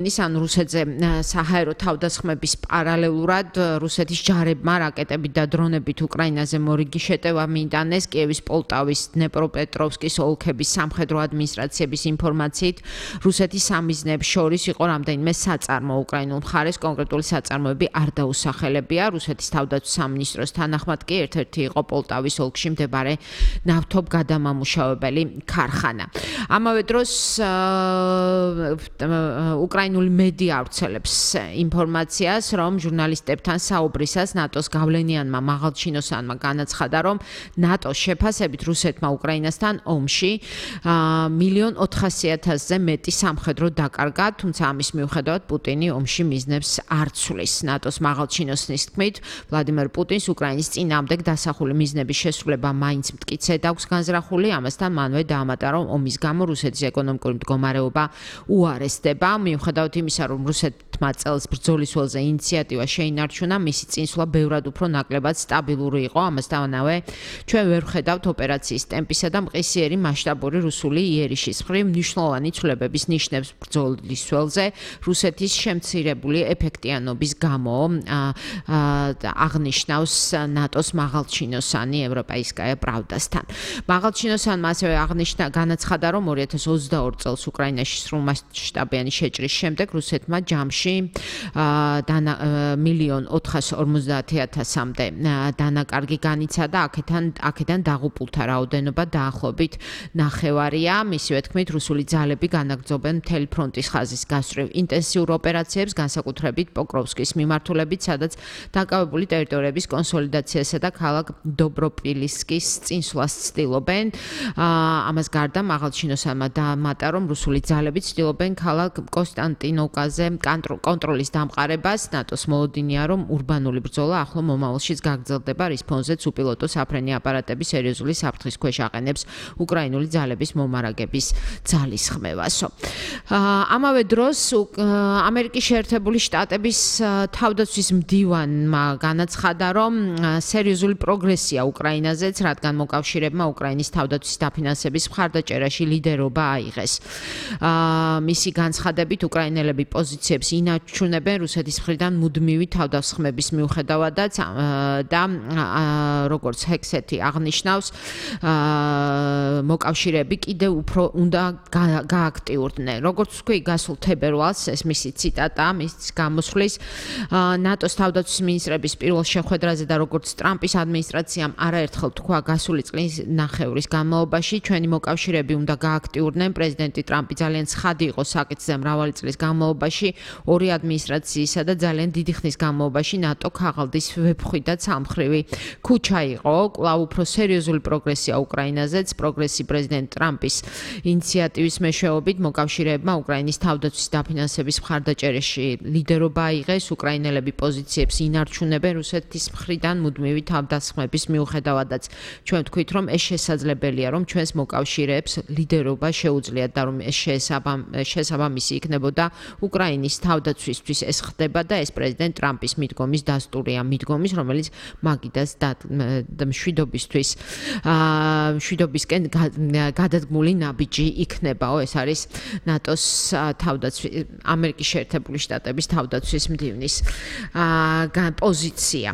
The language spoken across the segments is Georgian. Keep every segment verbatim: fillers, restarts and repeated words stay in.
ან რუსეთზე საჰაერო თავდასხმების პარალელურად რუსეთის ჯარებმა რაკეტებით და დრონებით უკრაინაზე მორიგი შეტევა მიიტანეს. კიევის, პოლტავის, დნეპროპეტროვსკის ოლქების სამხედრო ადმინისტრაციების ინფორმაციით რუსეთის სამიზნეებს შორის იყო რამდენიმე საწარმო. უკრაინულ მხარეს კონკრეტული საწარმოები არ დაუსახელებია. რუსეთის თავდაცვის სამინისტროს თანახმად კი ერთ-ერთი იყო პოლტავის ოლქში მდებარე ნავთობგადამამუშავებელი ქარხანა. ამავე დროს უკრაინული მედია ავრცელებს ინფორმაციას, რომ ჟურნალისტებთან საუბრისას ნატოს გავლენიანმა მაღალჩინოსანმა განაცხადა, რომ ნატოს შეფასებით რუსეთმა უკრაინასთან ომში მილიონ ოთხასი ათასზე მეტი სამხედრო დაკარგა, თუმცა ამის მიუხედავად პუტინი ომში მიზნებს არ ცვლის. ნატოს მაღალჩინოსნის თქმით, ვლადიმერ პუტინს უკრაინის წინააღმდეგ დასახული მიზნების შესრულება მაინც მტკიცედ აქვს განზრახული, ამასთან მანვე დაამატა, რომ ომის გამო რუსეთის ეკონომიკური მდგომარეობა უარესდება. მიუხედავად იმისა, რომ რუსეთმა წელს ბრძოლის ველზე ინიციატივა შეინარჩუნა, მისი წინსვლა ბევრად უფრო ნაკლებად სტაბილური იყო. ამასთანავე, ჩვენ ვერ ვხედავთ ოპერაციის ტემპისა და მყისიერი მასშტაბური რუსული იერიშის მხრივ მნიშვნელოვანი ცვლილებების ნიშნებს ბრძოლის ველზე რუსეთის შემცირებული ეფექტიანობის გამო, აღნიშნავს ნატოს მაღალჩინოსანი ევროპაისკაია პრავდასთან. მაღალჩინოსანმა ასევე აღნიშნა განაცხადა, რომ ორი ათას ოცდაორი წელს უკრაინაში სრულმასშტაბიანი შეჭრის შემდეგ რუსეთმა ჯამში მილიონ ოთხასი ორმოცდაათი ათასამდე დანაკარგი განიცადა, აქედან აქედან დაღუპულთა რაოდენობა დაახლოებით ნახევარია. მისივე თქმით, რუსული ძალები განაგრძობენ მთელი ფრონტის ხაზის გასწვრივ ინტენსიურ ოპერაციებს, განსაკუთრებით პოკროვსკის მიმართულებით, სადაც დაკავებული ტერიტორიების კონსოლიდაციასა და ქალაქ დობროპილისკის წინსვლას ცდილობენ. ამას გარდა მაღალჩინოსანმა დაამატა, რომ რუსული ძალები ცდილობენ ქალაქ კონსტანტინოვკაზე კონტროლის დამყარებას. ნატოს მოლოდინია, რომ ურბანული ბრძოლა ახლო მომავალშიც გაგრძელდება, რის ფონზეც უპილოტო საფრენი აპარატები სერიოზული საფრთხის ქვეშ აყენებს უკრაინული ძალების მომარაგების ძალისხმევასო. ამავე დროს ამერიკის შეერთებული შტატების თავდაცვის მდივანმა განაცხადა, რომ სერიოზული პროგრესია უკრაინაზეც, რადგან მოკავშირეებმა უკრაინის თავდაცვის დაფინანსების მხარდაჭერაში ლიდერობა აიღეს. მისი განცხადებით, უკრაინელები პოზიციებს ინარჩუნებენ რუსეთის მხრიდან მუდმივი თავდასხმების მიუხედავადაც და როგორც ჰექსეთი აღნიშნავს, მოკავშირეები კიდევ უფრო უნდა გააქტიურდნენ. როგორც თქვი, გასულ თებერვალს, ეს მისი ციტატა, მის გამოსვლის, ნატოს თავდაცვის მინისტრების პირველ შეხვედრაზე და როგორც ტრამპის ადმინისტრაციამ არაერთხელ თქვა გასული წლის ნახევრის განმავლობაში, ჩვენი მოკავშირეები უნდა გააქტიურდნენ. პრეზიდენტი ტრამპი ძალიან ცხადი იყო საკითხზე მრავალი წლის განმავლობაში, ორი ადმინისტრაციისა და ძალიან დიდი ხნის განმავლობაში ნატო ქაღალდის ვეფხვი და ცალმხრივი ქუჩა იყო. კვლავ უფრო სერიოზული პროგრესია უკრაინაზეც, პროგრესი პრეზიდენტ ტრამპის ინიციატივის მეშვეობით მოკავშირეებმა უკრაინის თავდაცვის დაფინანსების მხარდაჭერაში ლიდერობა აიღეს. უკრაინელები პოზიციებს ინარჩუნებენ რუსეთის მხრიდან მუდმივი თავდასხმების მიუხედავადაც. ჩვენ ვთქვით, რომ ეს შესაძლებელია, რომ ჩვენს მოკავშირეებს ლიდერობა შეუძლიათ და რომ ეს შესაბამისი იქნებოდა უკრაინის თავდაცვისთვის. ეს ხდება და ეს პრეზიდენტ ტრამპის მიდგომის დასტურია, მიდგომის, რომელიც მაგიდას მშვიდობისთვის მშვიდობისკენ გადადგმული ნაბიჯი იქნებაო. ეს არის ნატოს თავდაცვის, ამერიკის შეერთებული შტატების თავდაცვის მდივნის პოზიცია.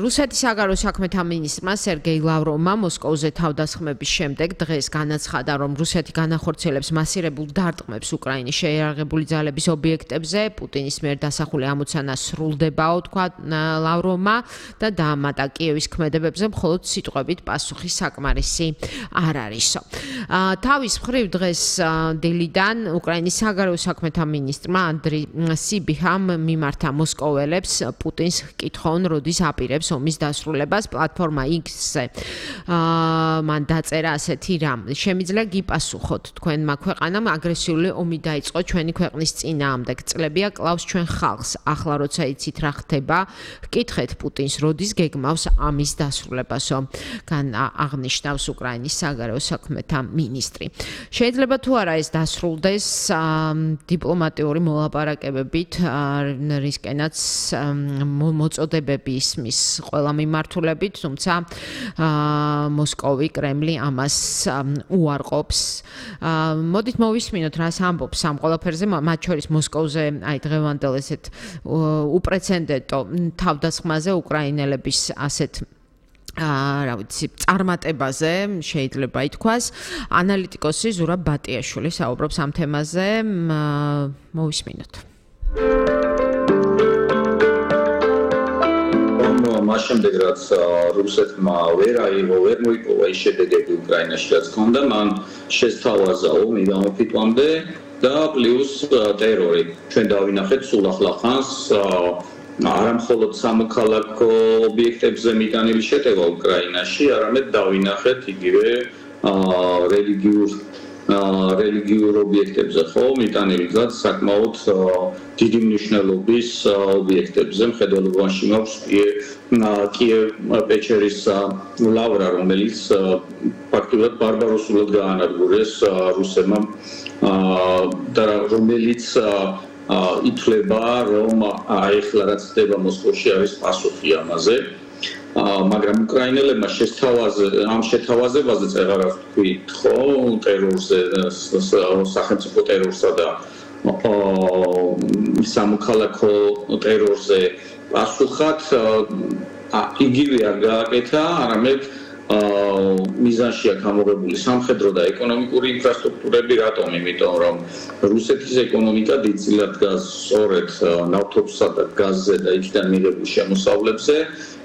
რუსეთის საგარეო საქმეთა მინისტრმა სერგეი ლავროვმა მოსკოვზე თავდასხმების შემდეგ დღეს განაცხადა, რომ რუსეთი განახორციელებს მასირებულ დარტყმებს უკრაინის შეიარაღებული ძალების ობიექტებზე. პუტინის მიერ დასახული ამოცანა სრულდებაო, თქვა ლავროვმა და დაამატა, კიევის ქმედებებზე მხოლოდ სიტყვებით პასუხი საკმარისი არ არისო. თავის მხრივ დღეს დილიდან უკრაინის საგარეო საქმეთა მინისტრმა ანდრი სიბიჰამ მიმართა მოსკოველებს პუტინს კითხონ, როდის აპირებს ომის დასრულებას. პლატფორმა X-ზე მან დაწერა ასეთი რამ: შემიძლია გიპასუხოთ, თქვენმა ქვეყანამ აგრესიული ომი დაიწყო ჩვენი ქვეყნის წინააღმდეგ. წინააღმდეგ წლებია კლავს ჩვენ ხალხს. ახლა როცა იცით რა ხდება, გკითხეთ პუტინს, როდის გეგმავს ამის დასრულებასო. გან აღნიშნავს უკრაინის საგარეო საქმეთა მინისტრი. შეიძლება თუ არა ეს დასრულდეს დიპლომატიური მოლაპარაკებებით, რისკენაც მოწოდებები ისმის ყველა მიმართულებით, თუმცა მოსკოვი, კრემლი ამას უარყოფს. მოდით მოვისმინოთ, რას ამბობს ამ ყველაფერზე, მათ შორის მოსკოვზე, აი დღევანდელ ესეთ უპრეცედენტო თავდასხმაზე უკრაინელების ასეთ რა ვიცი, წარმატებაზე შეიძლება ითქვას. ანალიტიკოსი ზურაბ ბატიაშვილი საუბრობს ამ თემაზე. მოვისმინოთ. მას შემდეგ რაც რუსეთმა ვერ აიღო, ვერ მოიპოვა ის შედეგები უკრაინაში, რაც ჰქონდა, მან შესთავაზა ომი გამოფიტვამდე და პლუს ტერორი. ჩვენ დავინახეთ სულ ახლა ხანს არა მხოლოდ სამოქალაქო ობიექტებზე მიტანილი შეტევა უკრაინაში, არამედ დავინახეთ იგივე რელიგიურ რელიგიურ ობიექტებზე, ხო, მიტანილი გზად საკმაოდ დიდი მნიშვნელობის ობიექტებზე. მხედველობაში მაქვს კიევ-პეჩერის ლავრა, რომელიც ფაქტობრივად ბარბაროსულად გაანადგურეს რუსებმა და რომელიც ითვლება, რომ ახლა რაც ხდება მოსკოვში არის პასუხი ამაზე. მაგრამ უკრაინელებმა შესთავაზე ამ შეთავაზებაზე წეღარას თქვით, ხო, ტერორზე, სახელმწიფო ტერორსა და სამოქალაქო ტერორზე პასუხად იგივე არ გააკეთა, არამედ მიზანში აქვს ამოღებული სამხედრო და ეკონომიკური ინფრასტრუქტურები, რატომ? იმიტომ რომ რუსეთის ეკონომიკა დიდწილად დგას სწორედ ნავთობსა და გაზზე და იქიდან მიღებულ შემოსავლებზე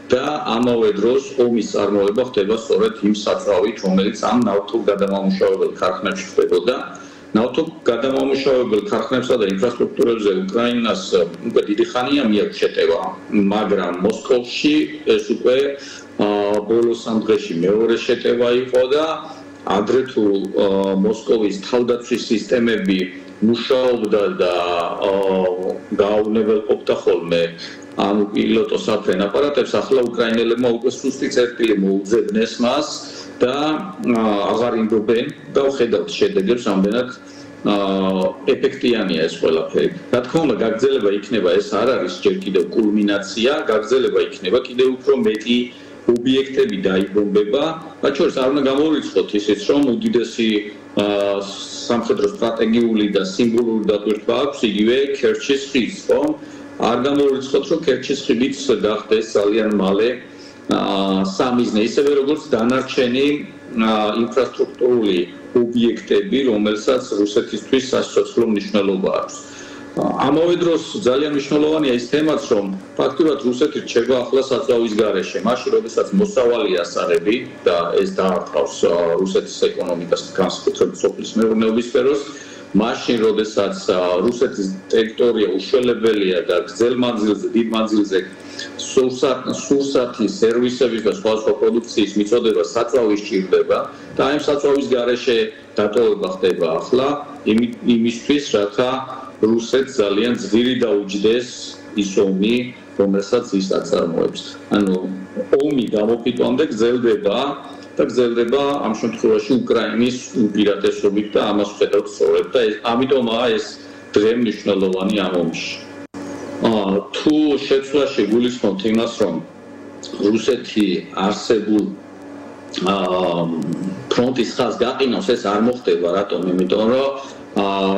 და ამავე დროს ომის წარმოება ხდება სწორედ იმ საწვავით, რომელიც ამ ნავთობ გადამამუშავებელ ქარხნებში ხდებოდა. ნავთობ გადამამუშავებელ ქარხნებსა და ინფრასტრუქტურებზე უკრაინას უკვე დიდი ხანია მიაქვს შეტევა, მაგრამ მოსკოვში ეს უკვე ბოლოს ამ დღეში მეორე შეტევა იყო და ადრე თუ მოსკოვის თავდაცვის სისტემები მუშაობდა და გააუნებელყოფდა ხოლმე ამ პილოტო საფრენ აპარატებს, ახლა უკრაინელებმა უკვე სუსტი წერტილი მოუძებნეს მას და აღარ იმბობენ და ხედავთ შედეგებს, რამდენად ეფექტიანია ეს ყველაფერი. რა თქმა უნდა, გაგრძელება იქნება, ეს არ არის ჯერ კიდევ კულმინაცია, გაგრძელება იქნება, კიდევ უფრო მეტი ობიექტები დაიბომბება, მათ შორის არ უნდა გამოვიწყოთ ისიც, რომ უდიდესი სამხედრო სტრატეგიული და სიმბოლური დატვირთვა აქვს იგივე ქერჩის ხიდს, ხო? არ გამოვიწყოთ, რომ ქერჩის ხიდიც გახდეს ძალიან მალე სამიზნე, ისევე როგორც დანარჩენი ინფრასტრუქტურული ობიექტები, რომელსაც რუსეთისთვის სასიცოცხლო მნიშვნელობა აქვს. ამავე დროს ძალიან მნიშვნელოვანია ის თემაც, რომ ფაქტობრივად რუსეთი რჩება ახლა საწვავის გარეშე. მაშინ, როდესაც მოსავალი ასარები და ეს დაარტყავს რუსეთის ეკონომიკას, განსაკუთრებით სოფლის მეურნეობის სფეროს, მაშინ, როდესაც რუსეთის ტერიტორია უშველებელია და გრძელ მანძილზე, დიდ მანძილზე სურსათის, სერვისების და სხვადასხვა პროდუქციის მიწოდება საწვავი სჭირდება და ამ საწვავის გარეშე დატოვება ხდება ახლა იმისთვის, რათა რუსეთს ძალიან ძვირი დაუჯდეს ის ომი, რომელსაც ის აწარმოებს. ანუ ომი გამოფიტვამდე გრძელდება და გრძელდება ამ შემთხვევაში უკრაინის უპირატესობით და ამას ხედავთ სწორედ და ამიტომაა ეს დღე მნიშვნელოვანი ამ ომში. თუ შეცვლაში გულისხმობთ იმას, რომ რუსეთი არსებულ ფრონტის ხაზს გაყინავს, ეს არ მოხდება, რატომ? იმიტომ რომ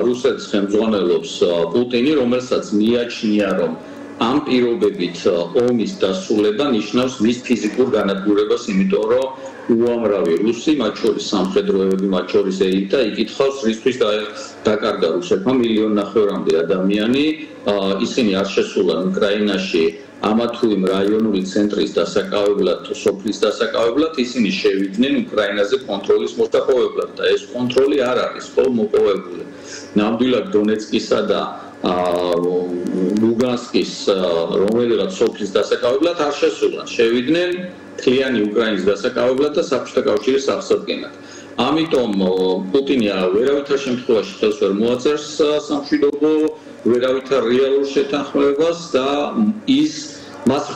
რუსეთს ხელმძღვანელობს პუტინი, რომელსაც მიაჩნია, რომ ამ პირობებით ომის დასრულება ნიშნავს მის ფიზიკურ განადგურებას, იმიტომ რომ უამრავი რუსი, მათ შორის სამხედროები, მათ შორის ელიტა იკითხავს, რისთვის დაკარგა რუსეთმა მილიონ ნახევრამდე ადამიანი, ისინი არ შესულან უკრაინაში ამა თუ იმ რაიონული ცენტრის დასაკავებლად, თუ სოფლის დასაკავებლად, ისინი შევიდნენ უკრაინაზე კონტროლის მოსაპოვებლად და ეს კონტროლი არ არის ხოლმე მოპოვებული. ნამდვილად დონეცკისა და ლუგანსკის რომელიღაც სოფლის დასაკავებლად არ შესულან, შევიდნენ მთლიანი უკრაინის დასაკავებლად და საბჭოთა კავშირის აღსადგენად. ამიტომ პუტინი ვერავითარ შემთხვევაში ხელს ვერ მოაწერს სამშვიდობო, ვერავითარ რეალურ შეთანხმებას და ის მას